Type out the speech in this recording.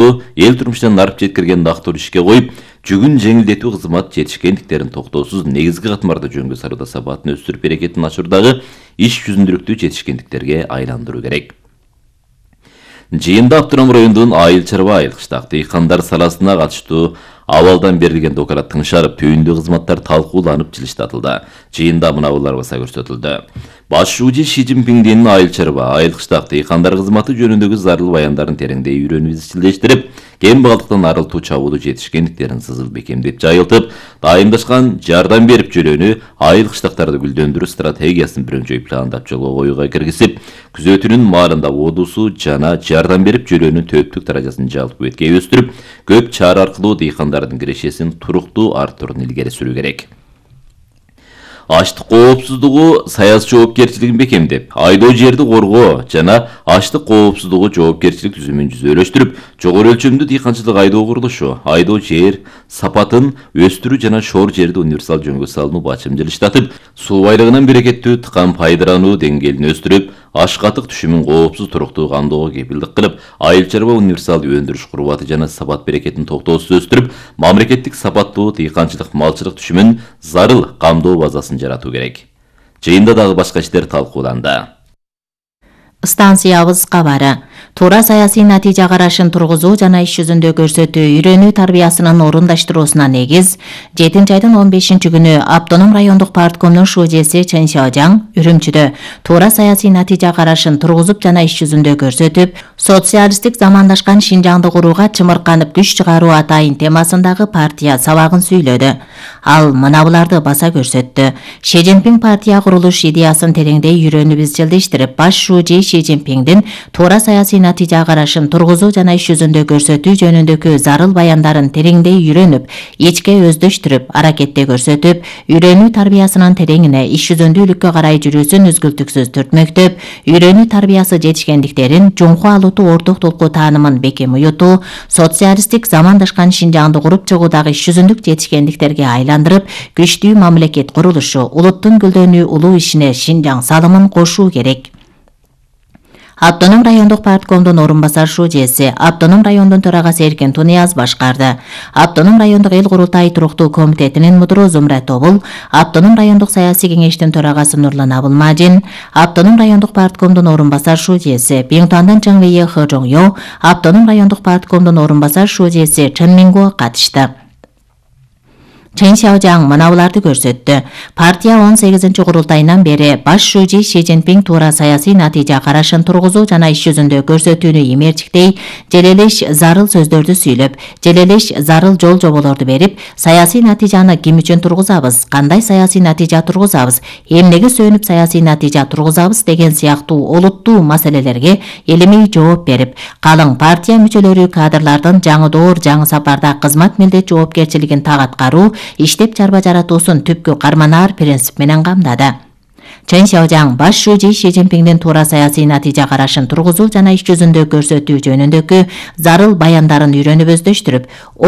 эл турмушунан нарып жеткирген дактор ишке коюп, жүгүн жеңилдетүү кызмат жетишкендиктерин токтоосуз негизги катмарда жөнгө салууда сапатын өстүрүп берекетин ачуурдагы иш жүзүндүүлүктү жетишкендиктерге айландыруу керек. Жыйында Автоном районунун Айыл чарба айыл кыштак дыйкандар саласына катыштуу абалдан берилген доклад тыңшарып, түйүндүү кызматтар талкууланып жылыштатылды. Жыйында мынабулар баса көрсөтүлдү. Баш шууji Ши Цзиньпиңдин Айыл чарба айыл кыштак дыйкандар кызматы жөнүндөгү зарыл баяндарын тереңдей үйрөнүп изчилдештирип, кем багалдыктан арылтуу чабуулу жетишкендиктерин сызыл бекемдеп жайылтып, дайымдашкан жардам берип жөлөнү айыл кыштактарды гүлдөндүрүү стратегиясын биринчи пландап жолго коюуга киргизип, күзөтүүнүн маалында одусу жана жардам берип жөлөөнүн төптүк даражасын жалпы бетке өстүрүп, көп чара аркылуу дыйкандардын кирешесин туруктуу арттырууну илгери сүрүү керек. Аштык коопсуздугу саясий жоопкерчилигин бекемдеп, айдоо жерди коргоо жана аштык коопсуздугу жоопкерчилик түзүмүн жүзөлөштүрүп, жогору өлчөмдүү дыйканчылык айдоо курулушу, айдоо жер сапатын өстүрүү жана шоор жерди универсал жөнгө салууну бачым жылыштатып, суу байлыгынан берекеттүү тыкан пайдарануу деңгээлин өстүрүп, ашкатык түшүмүн коопсуз туруктуу камдоого кепилдик кылып, айыл чарба универсал өндүрүш курбаты жана сапат берекетин токтоосуз өстүрүп, мамлекеттик сапаттуу дыйканчылык малчылык түшүмүн зарыл камдоо базасын жаратуу керек. Жыйында дагы башка иштер талкууланды. Станциябыз кабары. Туура саясий натыйжа карашын тургузуу жана иш жүзүндө көрсөтүү үйрөнүү тарбиясынын орундаштыруусуна негиз 7-айдын 15-күнү Автоном райондук парткомдун шужеси Чен Сяожаң Үрүмчүдө туура саясий натыйжа карашын тургузуп жана иш жүзүндө көрсөтүп, социалисттик замандашкан Шинжаңды курууга чымырканып күч чыгаруу атайын темасындагы партия сабагын сүйлөдү. Ал мынабуларды баса көрсөттү. Ши Цзиньпиң партия курулуш идеясын тереңдей үйрөнүп изчилдештирип, баш шужи Ши Цзиньпиңдин туура саясий натыйжа карашын тургузуу жана иш жүзүндө көрсөтүү жөнүндөгү зарыл баяндарын тереңдей үйрөнүп, ичке өздөштүрүп, аракетте көрсөтүп, үйрөнүү тарбиясынын тереңине иш жүзүндүүлүккө карай жүрүүсүн үзгүлтүксүз түртмөктөп, үйрөнүү тарбиясы жетишкендиктерин, жумку алууту орток толку таанымын бекем уютуу, социалисттик замандашкан Шинжаңды куруп чыгуудагы иш жүзүндүк жетишкендиктерге айландырып, күчтүү мамлекет курулушу, улуттун гүлдөнүү улуу ишине Шинжаң салымын кошуу керек. Автоном райондук парткомдун орунбасар шужеси, Автоном райондун төрагасы Эркин Тунияз башкарды. Автоном райондук эл курултай туруктуу комитетинин мудуру Зумра Тобул, Автоном райондук саясий кеңештин төрагасы Нурлан Абылмажин, Автоном райондук парткомдун орунбасар шужеси Биңтуандан Чыңвейе Хы Жоңё, Автоном райондук парткомдун орунбасар шужеси Чын Минго катышты. Чен Сяожаң мынабуларды көрсөттү. Партия 18 курултайынан бери баш шужи Ши Цзиньпиң туура саясий натыйжа карашын тургузуу жана иш жүзүндө көрсөтүүнү эмерчиктей, желелеш зарыл сөздөрдү сүйлөп, желелеш зарыл жол жоболорду берип, саясий натыйжаны ким үчүн тургузабыз, кандай саясий натыйжа тургузабыз, эмнеге сүйөнүп саясий натыйжа тургузабыз деген сыяктуу олуттуу маселелерге элемей жооп берип, калың партия мүчөлөрү кадрлардын жаңы доор жаңы сапарда кызмат милдет жоопкерчилигин так аткаруу, иштеп чарба жаратуусун түпкү карманаар принцип менен камдады. Чен Сяожаң баш шужи Ши Цзиньпиңдин туура саясий натыйжа карашын тургузуу жана иш жүзүндө көрсөтүү жөнүндөгү зарыл баяндарын үйрөнүп өздөштүрүп,